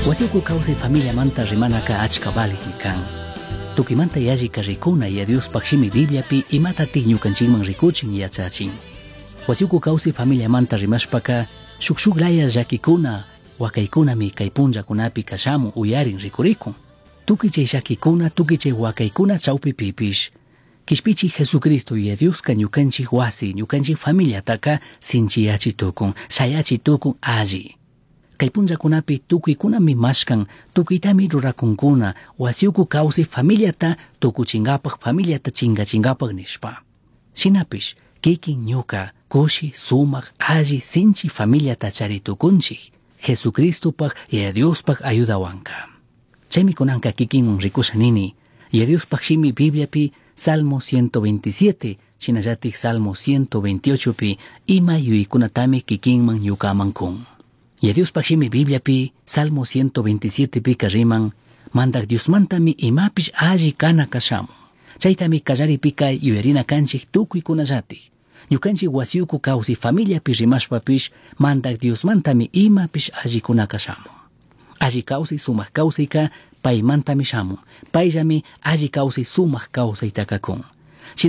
Wasiuku kawsay familiamanta rimanaka achka valigmi kan. Tukimanta yallika rikuna ya Diospaj shimi Bibliapi imatatik ñukanchikman rikuchin yachachin. Wasiuku kawsay familiamanta rimashpaka shuk shuk laya llakikuna wakaykunami kay punllakunapi kashamun uyarin rikurikun. Tukuy chay llakikuna tukuy chay wakaykuna chawpipipish Kishpichi Jesucristo y Dioska ñukanchik wasi ñukanchik familiataka sinchiyachi tukun shayachi tukun alli. Kay punllakunapi tukuykunami mashkan tukuytami rurakunkuna wasiuku kawsay familiata tukuchinkapak familiata chinkachinkapak nishpa. Shinapish kikin ñuka kushi sumak alli sinchi familiata chari tukunchik Jesucristopak y Diospaj ayudawanka. Chaymi kunanka kikinwan rikusha nini y Diospaj shimi Bibliapi Salmo 127 shinallatik Salmo 128 pi ima yuyaykunatami kikinman ñukaman kun. Y Diospaj shimi Bibliapi Salmo 127 pika riman mandak Diosmantami imapish alli kana kashamun. Chaytami kallaripika yuyarina kanchik tukuykunallatik. Ñukanchik wasiuku kawsay familiapi rimashpapish mandak Diosmantami imapish allikuna kashamun. Alli kawsay sumak kawsayka paymantami shamun. Payllami alli kawsay sumak kawsaytaka kun.